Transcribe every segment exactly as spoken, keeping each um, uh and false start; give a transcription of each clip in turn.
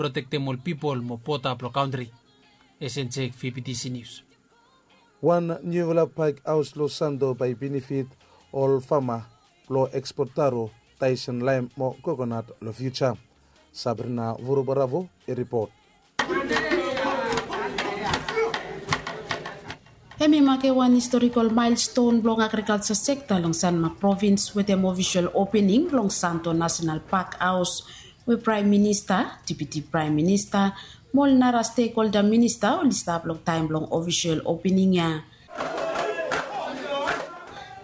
protektem ol pipol mo bota blong kantri. Esenjek fibitisi nius. Wan niufala pak haos long Santo bae i benefit ol fama blong ekspot taro, taisen laem mo kokonat long fiuja. Sabrina Vurubaravo i ripot. Hem i make wan historikol maelston blong agrikalja sekta long Sanma provins wetem ofisol opening blong Santo Nasenal Pak Haos, we Praem Minista, Deputi Praem Minista mo ol nara stekholda minista oli stap long taem blong ofisol opening ya.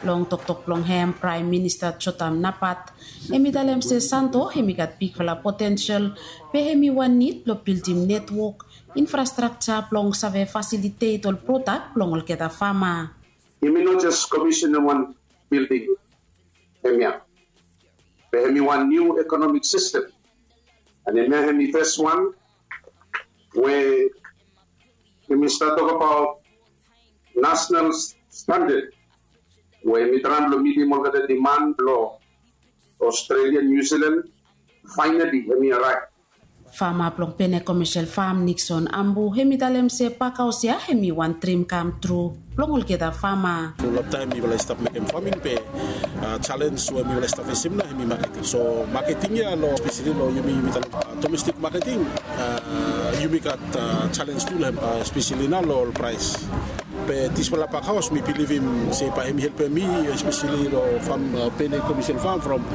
Long toktok blong hem, Praem Minista Jotam Napat hem i talem se Santo hem i gat bigfala potensel, be hem i wan nid blong bildim netwok infrastrakja blong save fasilitet ol prodak blong olgeta fama. Yumi no jes komisenem wan bilding hemia, be hem i wan niu ekonomik sistem. An hemia hem i fes wan we yumi stap tokbaot nasonal standad we hem i traem blong mitim olgeta diman blong Australia, New Zealand. Finally hem i araev. Fama blong Pene Commercial Farm, Nixon Ambu, hem i talem se pak haos ya hem i wan drim kam tru blong olgeta fama. Long taem mifala i stap mekem faming be, a, jalenj we mifala i stap fesem nao hem i maketing. So maketing ya long, espeseli long yumi, yumi talem, a, domestik maketing, a, yumi gat, a, jalenj tu long hem, a, espeseli nao long ol praes. Be disfala pak haos mi bilivim se bae hem i helpem mi, espeseli long fam, a, Pene Commercial Farm from,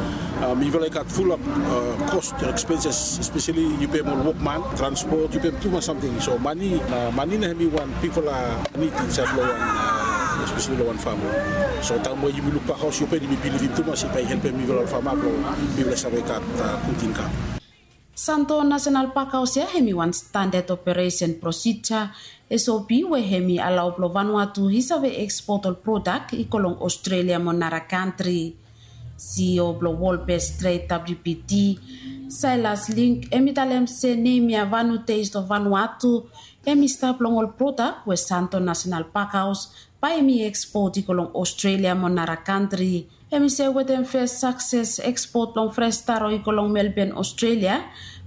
a, mifala i gat fulap, a, kos, ekspenses, espeseli yu pem ol wokman, transpot, yu pem tumas samting. So mane, a, mane nao hem i wan bigfala nid insaed long wan, a, espeseli long wan fam. So taem we yumi luk pak haos ya, yumi bilivim tumas se bae i helpem mifala ol fama blong mifala save gat, a, gud inkam. Santo Nasenal Pak Haos ya hem i wan standad operesen prosija, S O P, we hem i alao blong Vanuatu i save ekspot ol prodak i go long Australia mo nara kantri. C E O blong World Best Trade, W B T, Silas Link, hem i talem se nem ya Vanu Taste of Vanuatu hem i stap long ol prodak we Santo Nasenal Pak Haos bae hem i ekspot i go long Australia mo nara kantri. Hem i se wetem fes sakses ekspot blong fres taro i go long Melbourne, Australia,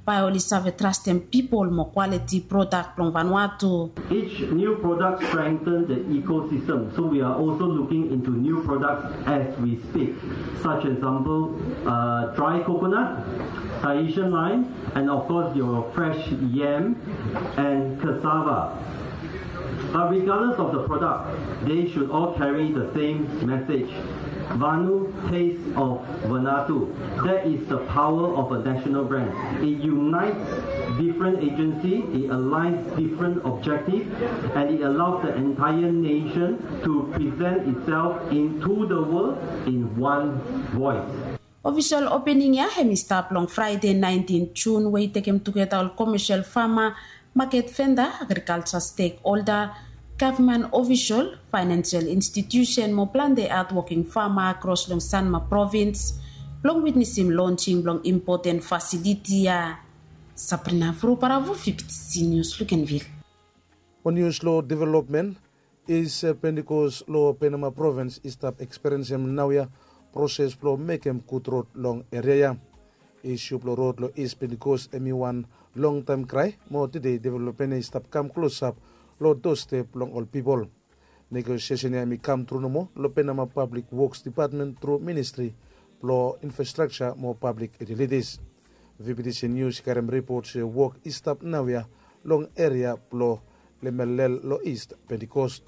bae oli save trastem pipol mo kwaliti prodak blong Vanuatu. Each new product strengthens the ecosystem, so we are also looking into new products as we speak, such example, uh, dry coconut, Tahitian lime, and of course your fresh yam and cassava. But regardless of the product, they should all carry the same message. Vanu, taste of Vanuatu. That is the power of a national brand. It unites different agency, it aligns different objective, and it allows the entire nation to present itself into the world in one voice. Ofisol opening ya hem i stap long Fraede naentin Jun, we i tekem tugeta ol komesel fama, maket venda, agrikalja stekholda, gavman ofisol, faenensel institiusen mo plante hadwoking fama akros long Sanma provins, blong witnesim lonjing blong impoten fasiliti ya. Sabrina Vruparavo, V B T C News, Luganville. Mo nius long developmen, East Pentecost long Penama provins i stap ekspiriensem naoia proses blong mekem gud rod long eria ya. Isu blong rod long East Pentecost hem i wan longtaem krae, mo tede developmen ya i stap kam klosap long dostep blong ol pipol. Negosiesen ya hem i kam tru nomo long Penama Pablik Woks Dipatmen tru Ministri blong Infrastrakja mo Pablik Yutilitis. V B T C Nius i karem ripot se wok i stap naoia long eria blong Lemelel long East Pentecost.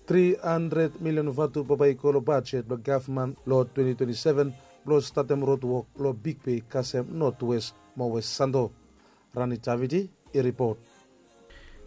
Tri handred milion vatu bambae i go long bajet blong gavman long twenti twenti seven blong statem rod wok long Big Bay kasem Notwes mo West Santo. Rani Davidi i ripot.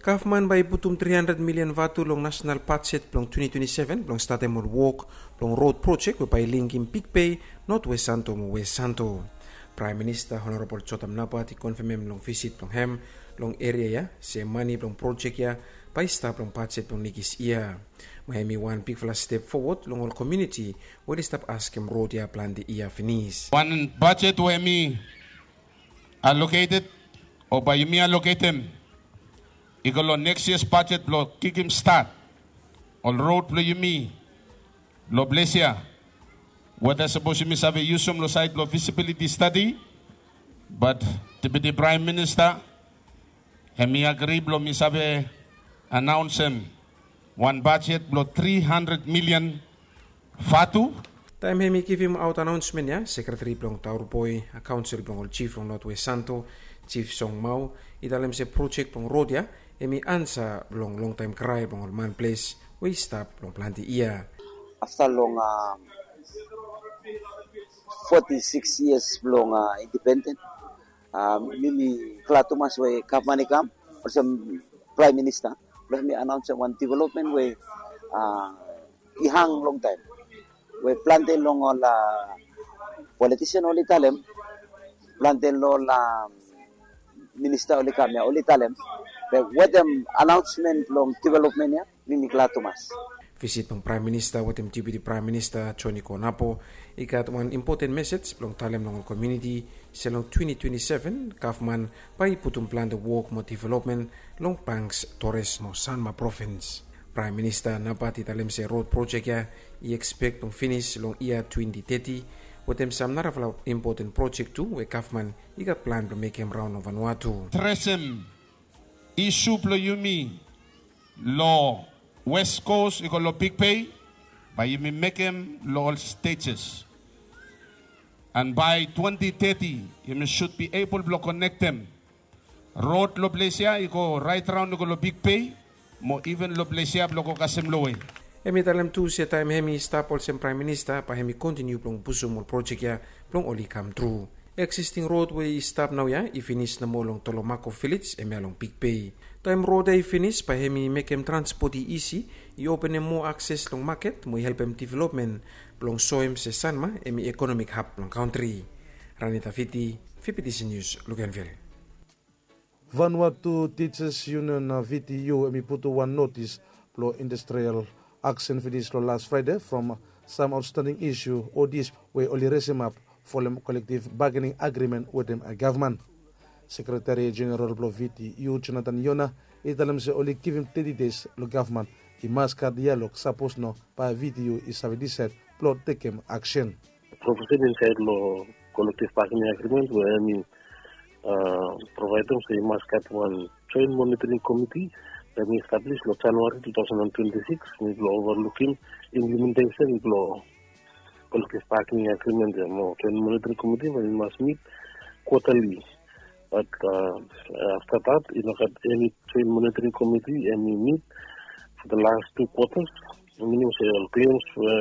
Gavman bae i putum tri handred milion vatu long nasenal bajet blong twenti twenti seven blong statem ol wok blong rod projek we bae i linkem Big Bay, Notwes Santo mo West Santo. Praem Minista Honorabol Jotam Napat i konfemem long visit blong hem long eria ya se mane blong projek ya bae i stap long bajet blong nekis yia. Mo hem i wan bigfala step fowod long ol komuniti we oli stap askem rod ya plante yia finis. Wan bajet we hem i aloketed o bae yumi aloketem i go long neks yia bajet blong kikim stat ol rod blong yumi long ples ya. Weta sapos yumi save yusum long saed blong visibiliti stadi, bat Deputi Praem Minista, hemi agri blong mi save anaonsem wan bajet blong tri handred milian vatu. Taem hemi givimaot anaonsmen ya, sekreteri blong Tauroboi Kaonsel blong ol jif long Notwest Santo, Jif Song Mau, i talem se projek blong rod ya hemi ansa blong longtaem krae blong ol manples we i stap long plante yia. Afta long foti sikis yias blong indipenden, mi mi glad tumas we gavman i kam olsem Praem Minista blong mi anaonsem wan developmen we i hang longtaem, we plante long ol politisen oli talem, plante long ol minista oli kam ya oli talem, be wetem anaonsmen blong developmen ya mi mi glad tumas. Visit blong Praem Minista wetem Deputi Praem Minista Joni Konapo i gat wan impoten mesej blong talem long ol komuniti se long twenti twenti seven gavman bae i putum plante wok mo developmen long Banks, Torres mo Sanma provins. Praem Minista naobaot i talem se rod projek ya i ekspek blong finis long yia twenti teti, wetem sam narafala impoten projek tu we gavman i gat plan blong mekem raon long Vanuatu. Adresem isu blong yumi long West Coast i go long Big Bay, bae yumi mekem long ol stejes. And by twenty thirty yumi should be able blong konektem rod long ples ya i go raet raon i go long Big Bay, mo iven long ples ya blong go kasem lowe. Hemi talem tu se taem hemi stap olsem Praem Minista bae hemi kontiniu blong pusum ol projek ya blong oli kam tru. Eksisting rod we i stap naoia i finis nomo long Tolomako vilej hemia long Big Bay. Taem rod ya i finis bae hemi mekem transpot i isi, i openem moa akses long maket mo i helpem developmen blong soem se Sanma hemi ekonomik hab blong kantri. Ranita Viti, Vipitisi Nius, Luganville. Vanuatu Teachers Union, VTU, hemi putum wan notis blong industrial aksen finis long las Fraede from sam aotstanding isu o disp we oli resemap folem kolektiv bagening agrimen wetem gavman. Sekreteri Jeneral blong VTU, Jonathan Yona, i talem se oli givim teti dei long gavman i mas gat dialog, sapos no bae VTU i save disaed blong tekem aksen. Provision insaed long kolektiv bagening agrimen we hemi provaedem se i mas gat wan joen monitoring komiti we hemi establis long Januari two thousand and twenty-six, hemi blong overlukim implementesen blong kolektiv bagening agrimen ya. Mo joen monitoring komiti we hemi mas mit kwatali. Bat afta dat i no gat eni joen monitoring komiti hemi mit for the last two quarters. Minim se ol klems we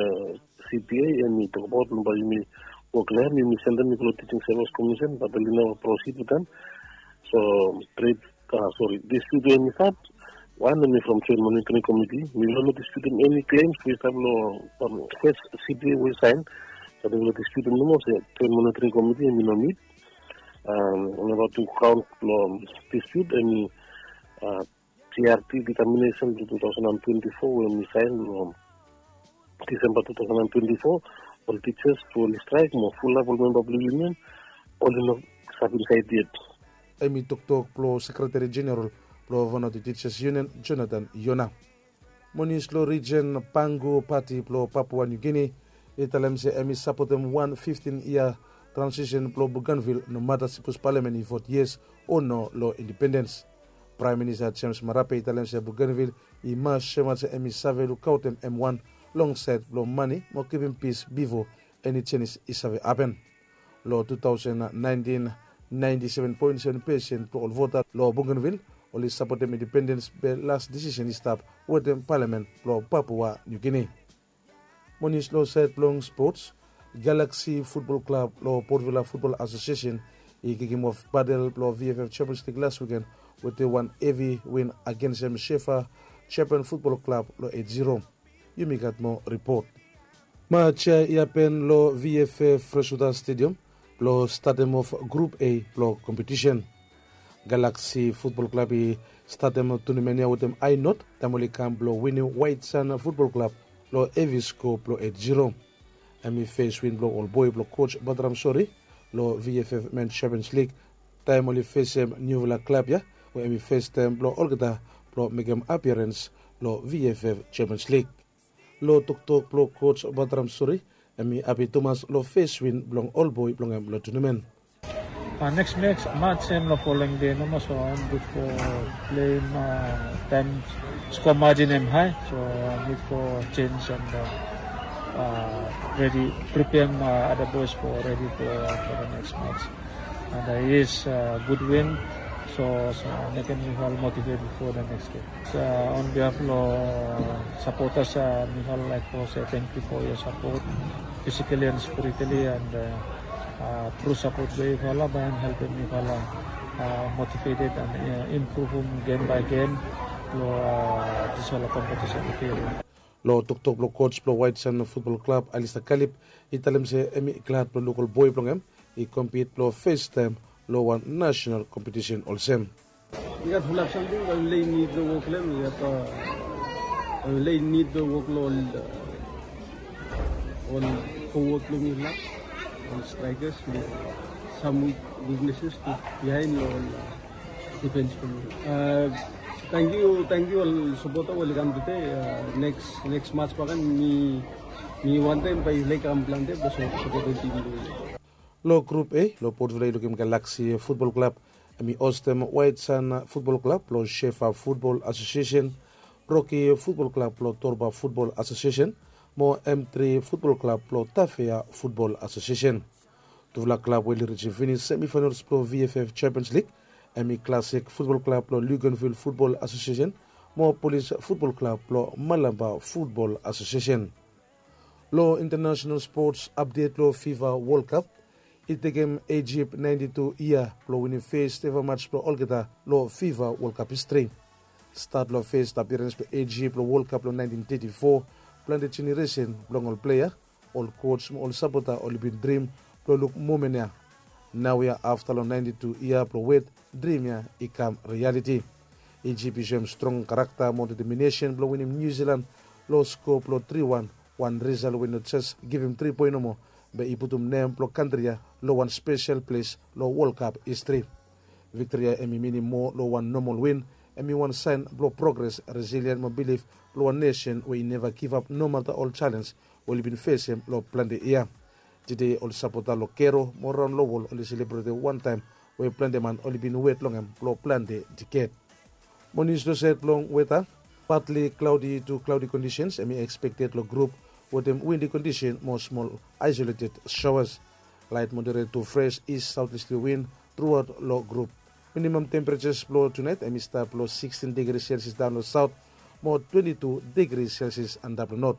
CBA hemi tokbaot long bae yumi wok long hem, yumi sendem i go long Teaching Service Commission, bat oli neva prosid wetem. So tred, sori, dispute we hemi stap, wan hemi from joen monitoring komiti. Mi no disputem eni klems we i stap long fes CBA we i saen. Bat mi no disputem nomo se joen monitoring komiti hemi no mit. Namba tu kaon blong dispute hemi GRT determinesen blong two thousand and twenty-four we hemi saen long Disemba two thousand and twenty-four. Ol tijas we oli straek mo fulap ol memba blong yunion oli no stap insaed yet. Hemi toktok blong Sekreteri Jeneral blong Vanuatu Tijas Yunion, Jonathan Yona. Mo nius long rijen, Pangu Pati blong Papua Niu Gini i talem se hemi sapotem wan fiftin yia transisen blong Bougainville, nomata sipos palamen i vot yes o no long indipendens. Praem Minista James Marape i talem se Bougainville i mas semat se hemi save lukaotem hem wan long saed blong mane mo kipim pis bifo eni jenis i save hapen. Long two thousand nineteen, ninety seven point seven percent blong ol vota long Bougainville oli sapotem indipendens, be las disisen i stap wetem palamen blong Papua Niu Gini. Mo nius long saed blong spots, Galaxy Futbol Klab long Port Vila Futbol Asosiesen i kikimof batel blong VFF Champions League las wiken wetem wan hevi win agensem Shefa Japan Futbol Klab long eight zero. Yumi gat moa ripot. Maj ya i hapen long VFF Freshwater Stadium blong statemof Grup A blong kompetisen. Galaxy Futbol Klab i statem tunimen ya wetem ae not taem oli kam blong winim Waet San Futbol Klab long hevi sko blong eight zero. Hemi fes win blong ol boe blong koj Batram Sori long VFF Men Champions League taem oli fesem niufala klab ya we hemi fes taem blong olgeta blong mekem apiarens long VFF Champions League. Long toktok blong koj Batram Sori, hemi hapi tumas long fes win blong ol boe blong hem long tunimen. Neks mats hem long foleng dei nomo, so hem gud fo pleim taem skoa majin hem hae, so hem nid fo jenj and redi, pripeaem ada boes fo redi fo da neks mats. And yes, gud win, so mekem mifala motiveted fo da neks gem. On behaf long sapotas, mifala laek fo se tangkiu fo yua sapot, fisikali and spiritali, and tru sapot blong yufala bae hem helpem mifala motiveted and impruvum gem bae gem long disfala kompetisen. Long toktok blong koj blong Waetsan Futbol Klab, Alista Kalip, i talem se hem i glad blong luk ol boe blong hem i kompit blong fes taem long wan nasenal kompetisen olsem. I gat fulap samting bae yufala i nid long wok long hem. I gat bae yufala i nid long wok long ol fowod blong yufala, ol straekas, sam wikneses tu bihaen long ol difens blong yufala. Tangkiu, tangkiu ol sapota we oli kam tude. Neks mats bakegen mi wantaem bae yufala i kam plante blong sapotem tim blong yufala. Long grup A, long Port Vila i lukim Galaksi Futbol Klab hem i hostem Waetsan Futbol Klab blong Shefa Futbol Asosiesen, Roki Futbol Klab blong Torba Futbol Asosiesen, mo M tri Futbol Klab blong Tafea Futbol Asosiesen. Tufala klab we oli rijim finis semifainals blong VFF Champions League hem i Klasik Futbol Klab blong Luganville Futbol Asosiesen mo Polis Futbol Klab blong Malampa Futbol Asosiesen. Long intanasenal spots apdet long FIFA Wol Kap, i tekem Ijip naenti tu yia blong winim fes eva mats blong olgeta long FIFA Wol Kap histri. Stat long fes apirens blong Ijip long Wol Kap long naentin teti fo, plante jeneresen blong ol plea, ol koj mo ol sapota oli bin drim blong luk momen ya. Naoia afta long naenti tu yia blong wet, drim ya i kam rialiti. Ijip i soem strong karakta mo deteminesen blong winim Niu Silan long sko blong tri wan, wan risal we i no jes givim tri poen nomo, be i putum nem blong kantri ya long wan spesel ples long Wol Kap histri. Viktri ya hem i minim moa long wan nomol win, hem i wan saen blong progres, resilien mo bilif blong wan nesen we i neva givap nomata ol jalenj we oli bin fesem long plante yia. Tede ol sapota long Kero mo raon long wol oli selebretem wan taem we plante man oli bin wet long hem blong plante diked. Mo nius long sed blong weta, patli klaodi tu klaodi kondisens hem i ekspekted long grup wetem windi kondisen mo smol aesoleted shaoas. Laet moderet tu fres is saotisli win truaot long grup. Minimam temperejas blong tunaet hem i stap long sikstin digri selsias daon long saot mo twenti tu digri selsias antap long not.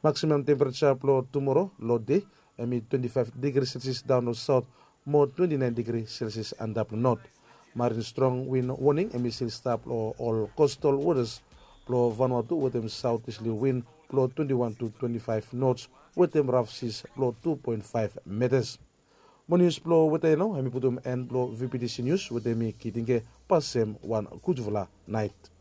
Maksimam tempereja blong tumoro long dei hem i twenti faef digri selsias daon long saot mo twenti naen digri selsias antap long not. Marin strong win woning hem i stil stap long ol kostal wotas blong Vanuatu wetem saotisli win blong twenti wan tu twenti faef nots wetem raf sis blong tu poen faef metas. Mo nius blong weta ya nao hem i putum en blong VPTC Nius wetem mi Kitinge. Pasem wan gudfala naet.